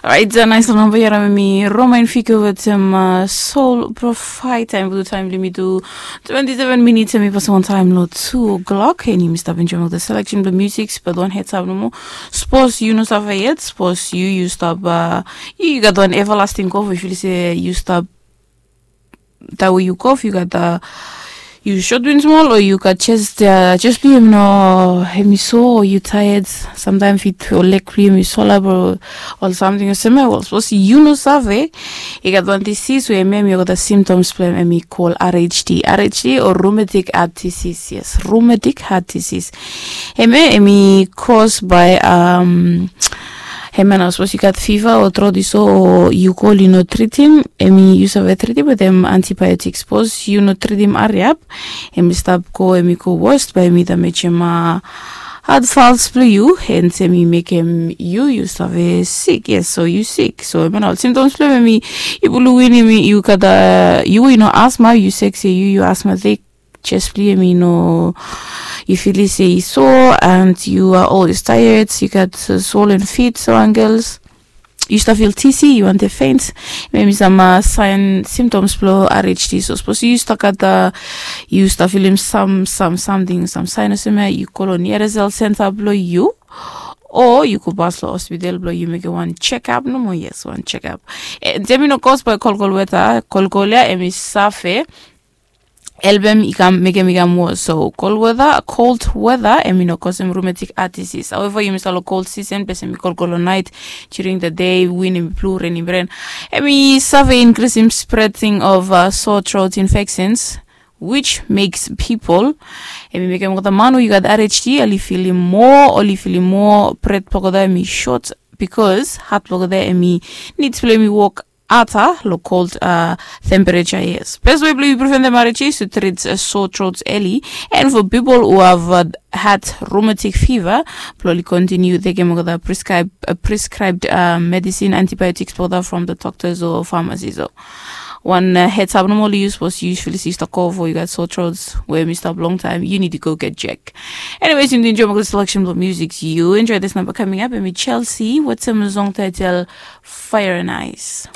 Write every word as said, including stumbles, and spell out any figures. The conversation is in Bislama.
Orait, nais long namba ya, mi Romain Fico wetem Soul Profite. Taem blo taem blong yumi tu twenty-seven minutes, em i pasim wantaem long two o'clock. Em yumi stap enjoem olgeta selection blong music. But wan heads up nomo, sapos yu no save yet, sapos yu yu stap, yu yu gat wan everlasting cough, yu feel se yu stap taem we yu cough, yu gat, yu sot win smol, o yu gat chest, chest blong yu em i no, em i so, o yu tired, samtaem fit o leg blong yu em i so lap, o ol samting olsem ya. Wel, sapos yu no save, i gat wan disease we em ya em i olgeta symptoms blong em, em i call R H D, R H D o rheumatic heart disease. Yes, rheumatic heart disease. Em ya em i cause by, um, hemia nao, sapos yu gat fiva o trot i so, o yu kol yu no tritim, em i yu save tritim wetem antibiotics. Sapos yu no tritim hariap, em i stap go, em i go worst, bae em i damejem heart valves blong yu, hence em i mekem yu yu save sik. Yes, so yu sik. So hemia nao ol symptoms blong em, em i, yu blong win em i, yu gat, yu we yu no asthma, yu sek se yu yu asthmatic, chest blong yu em i no, yu feel se i so, and you are always tired, yu gat swollen feet, so ankles, yu stap feel dizzy, yu wantem faint. Em i sam saen, symptoms blong R H D. So sapos yu stap gat, yu stap filim sam, sam samting, sam saen olsem ya, yu go long nearest health center blong yu, o yu go pas long hospital blong yu mekem wan checkup nomo. Yes, wan checkup. Em i no cause by kolkol weta. Kolkol ya em i save helpem i kam, mekem i kam worse. So cold weather, cold weather em i no cause em rheumatic heart disease. However, yumi stap long cold season, ples em i kolkol long night, during the day win em i blo, ren em i ren, em i save increasem spreading of sore throat infections, which makes people, em i mekem olgeta man we i gat R H D oli filim moa, oli filim moa, breath blong olgeta em i short, because heart blong olgeta em i, needs blong em i wok harder long cold temperature. Yes, best way blong yu preventem R H D is to treat sore throats early. And for people who have had rheumatic fever, blong oli continue tekem olgeta prescribed medicine, antibiotics blong olgeta from the doctors o pharmacy. So wan heads up nomo, yu sapos yu feel se yu stap cough o yu gat sore throats we em i stap long taem, yu nid to go get check. Anyways, yu nid to enjoy olgeta selection blong music. Yu enjoy this number coming up, em i Chelsea wetem song title Fire and Ice.